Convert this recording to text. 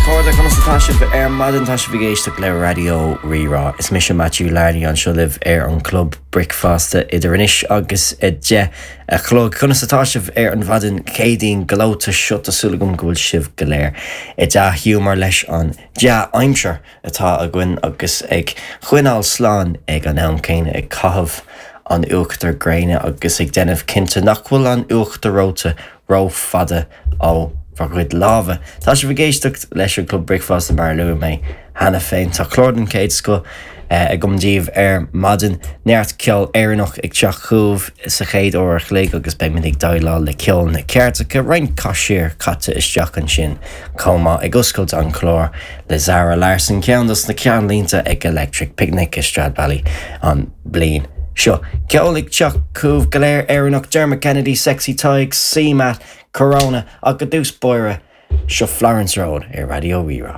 chairde, conas atá sibh ar maidin? Tá sibh ag éisteacht le Raidió Rí-Rá. Is mise Matthew Larney anseo libh ar an Club Bricfeasta idir anois agus 10 a chlog. Conas atá sibh ar an mhaidin Chéadaoin gleoite seo? Tá súil agam go bhfuil sibh go léir i dea-ghiúmar leis an dea-aimsir atá againn agus ag coinneáil slán ag an am céanna, ag caitheamh an uachtar gréine agus ag déanamh cinnte nach bhfuil an uachtar reoite ró-fhada ó bhur gcuid lámha. Tá sibh ag éisteacht leis an Club Bricfeasta mar a luaigh mé cheana féin. Tá clár den chéad scoth agam daoibh ar maidin. Neart ceol Éireannach ag teacht chugaibh sa chéad uair a chloig agus beimid ag déileáil le ceol na gceirdeacha, roinnt caisear caite isteach ansin chomh maith. Ag oscailt an chláir le Zara Larsson, ceann dos na ceannlínte ag Electric Picnic i Stradbally an bliain seo. Ceol ag teacht chugaibh go léir Éireannach, Dermot Kennedy, Sexy Tadhg, CMAT, Corona, ach i dtús báire, seo Florence Road ar Raidió Rí-Rá.